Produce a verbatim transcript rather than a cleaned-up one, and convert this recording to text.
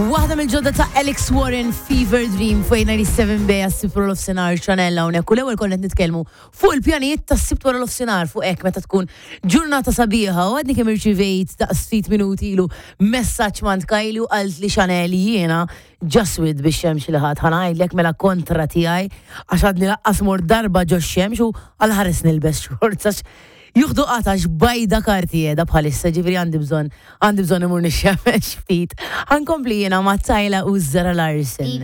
Waħda mill-ġodda ta' Alex Warren, Fever Dream, fuq disgħa u tmenin B għas-Sibt wara nofsinhar, Chanel hawnhekk. U l-ewwel konna qed nitkellmu fuq il-pjanijiet tas-Sibt wara nofsinhar, fuq hekk meta tkun ġurnata sabiħa, u għadni kemm irċivejt daqs ftit minuti ilu messaġġ mingħand Kylie u qalt li, "Chanel, jiena ġaswid biex xemx li ħadd." Ħa ngħidlek mela kontra tiegħi, għax għadni lanqas mort darba ġo xemx u għal-ħares nilbes shorts għax juhdu qatax bajda karti jeda bħalissa, ġifieri għandi bżonn għandi bżonn imur nixxemmex ftit. Ħa nkompli jiena ma' Tyla u Zara Larsson.